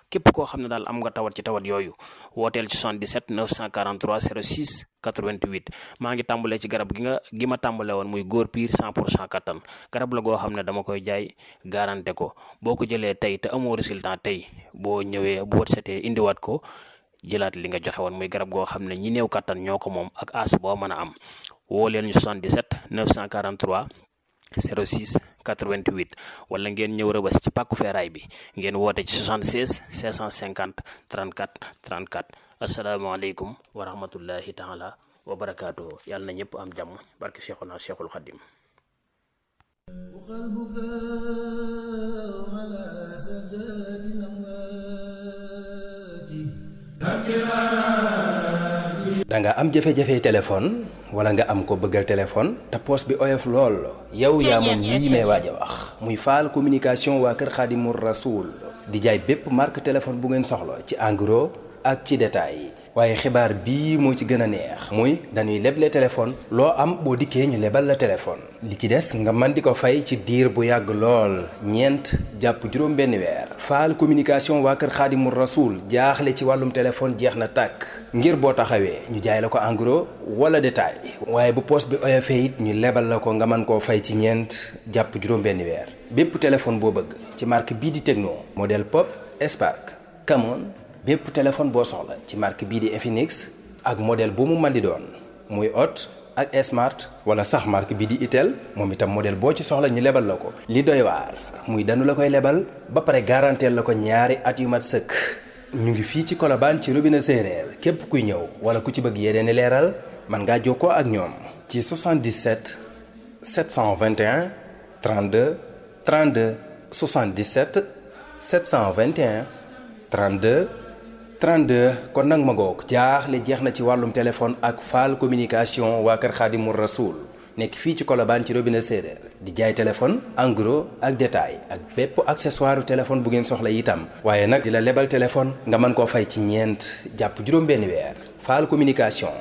képp koo xam ne daal am nga tawat ci tawat yooyu wooteel ci 77 943 06 88 maa ngi tàmbalee ci garab gi ma tàmbale woon muy góor piir 100% kattan garab la goo xam ne dama koy jaay garanté ko boo ko jëlee tey te amoo résultat tey boo ñëwee bu wët setee indiwaat ko jëlaat li nga joxe woon muy garab goo xam ne ñi néew kattan ñoo ko moom ak as boo mën a am woo leen ñu 77 943 06 88 wala ngeen ñëw Rëbës ci pàkku feeraay bi ngeen woote ci 76 550 34 34 asalaamaaleykum wa rahmatullahi taala wa barakaatuhu yàlla na ñëpp am jàmm barke Cheikhuna Cheikhul Khadim da nga am jafe-jafe téléphone wala nga am ko bëggal téléphone te poos bi oyof lool yow yaa moom lii may waaj a wax muy Fall communication waa kër Xaadimu Rasuul di jaay bépp marque téléphone bu ngeen soxla ci en gros ak ci détail waaye xibaar bii moo ci gën a neex muy dañuy leble téléphone loo am boo dikkee ñu lebal la téléphone li ci des nga mën di ko fay ci diir bu yàgg lool ñeent jàpp juróom benn weer Fall communication waa kër Xaadimu Rasuul jaaxle ci wàllum téléphone jeex na tàkk ngir boo taxawee ñu jaay la ko en gros wala détail waaye bu poos bi oyofee it ñu lebal la ko nga mën koo fay ci ñeent jàpp juróom benn weer bépp téléphone boo bëgg ci marque bii di Tecno modèle Pop Spark Camon bépp téléphone boo soxla ci marque bii di Infinix ak modèle bu mu mën di doon muy Hot ak Smart wala sax marque bii di Itel moom itam modèle boo ci soxla ñu lebal la ko. li doy waar muy danu la koy lebal ba pare garanteel la ko ñaari at yu mat sëkk ñu ngi fii ci Colobane ci robinet séeréer képp kuy ñëw wala ku ci bëgg yeneen leeral mën ngaa jokkoo ak ñoom ci 77 721 32 32 77 721 32 32 kon nag ma ngoog jaaxle jeex na ci wàllum téléphone ak Fall communication waa kër Xaadimu Rasuul nekk fii ci Colobane ci robinet séeréer di jaay téléphone en gros ak détail ak bépp accessoire téléphone bu ngeen soxla itam waaye nag di la lebal téléphone nga mën koo fay ci ñeent jàpp juróom benn weer Fall communication